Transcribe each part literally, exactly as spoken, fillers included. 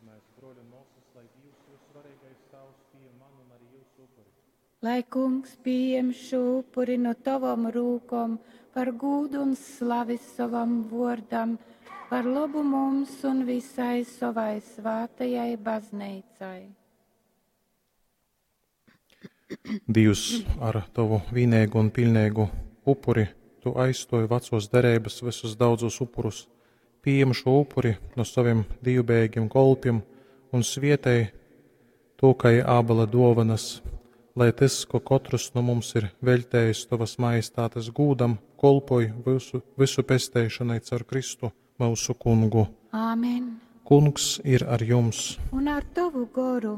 Lūksimies, bruoļi un muosys, lai Dīvs, Vysvareigais Tāvs, pījem manu un arī jūsu upuri. Lai Kungs pieņem šo upuri no tavam rūkom par gūdu un slavi sovam vōrdam, par labu mums un visai savai svātajai baznīcai. Dīvs, ar tavu vīneigu un pilneigu upuri tu aizstoji vecos dereibas visus daudzos upurus. Pieņem šo upuri no saviem dievbijīgiem kolpiem un svietēj to, kai ābela dovanas, lai tas, ko katrs no mums ir veļtējis tavas majestātes gūdam, kolpoj visu, visu pesteišanai caur Kristu, mūsu kungu. Āmen. Kungs ir ar jums, Un ar tavu goru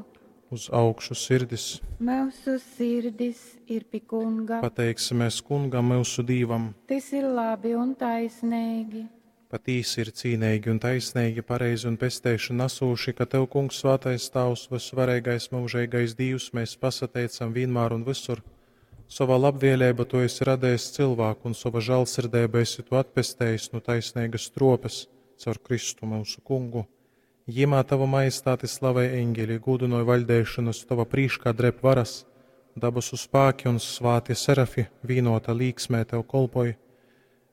uz augšu sirdis. mūsu sirdis ir pie Kunga. Pateiksimies kungam, mūsu dīvam. Tas ir labi un taisnīgi. Patīsi ir cīnīgi un taisnīgi, pareizi un pesteišana nesūši, ka Tev, Kungs, svētais Tavs, visvareigais mūžīgais Dievs, mēs pasateicam vienmēr un visur. Savā labvēlībā Tu esi radījis cilvēku un sava žēlsirdība esi Tu atpestējis no taisnīgas tropes caur Kristu mūsu kungu. Jimā Tavu majestāti slavē eņģeļi, gudinoja vaļdēšanas Tava prīškā dreb varas, dabasu spāki un svāti serafi vīnota līksmē Tev kolpoj.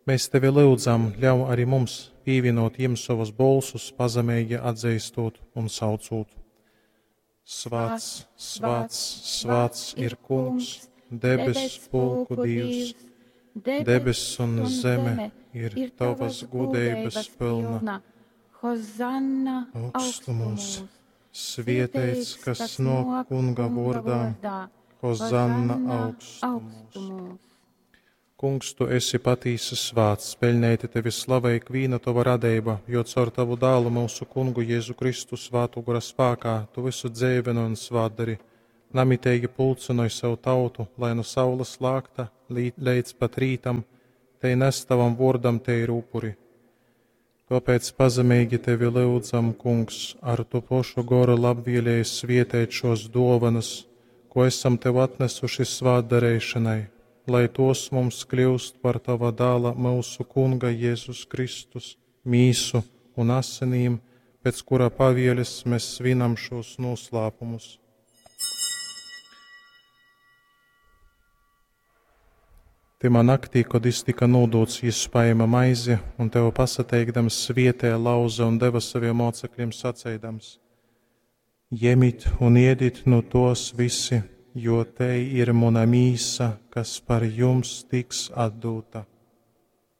Mēs tevi lūdzam, ļauj arī mums pievienot jiem savus bolsus, pazemīgi atzīstot un saucot. Svāts, svāts, svāts ir Kungs, debes pulku Dievs, debes un zeme ir tavas gudrības pilna. Hozanna Augstumos, svietēts, kas no Kunga vārdā, Hozanna augstumos. augstumos. Kungs, tu esi patīsi svāts, peļnēti tevi slavē ikvīna tava radība, jo caur tavu dālu mūsu kungu Jēzu Kristu svātu gora spākā tu visu dzēvenu un svātdari. Namitīgi pulcinoj savu tautu, lai no saules lākta līdz pat rītam, te nes tavam vārdam te ir upuri. Tāpēc pazemīgi tevi lūdzam, Kungs, ar tu pošu goru labvēlēji svietēt šos dovanas, ko esam tev atnesuši svātdarīšanai, lai tos mums kļūst par tava dāla mūsu Kunga Jēzus Kristus mīsu un asinīm, pēc kura pavieles mēs svinam šos noslēpumus. Timā naktī, kad jis tika nūdūts, jis paēma maizi un tev pasateikdams svietēja lauza un deva saviem mocekļiem saceidams: Jemit un iedit no tos visi, jo te ir mana mīsa, kas par jums tiks atdūta.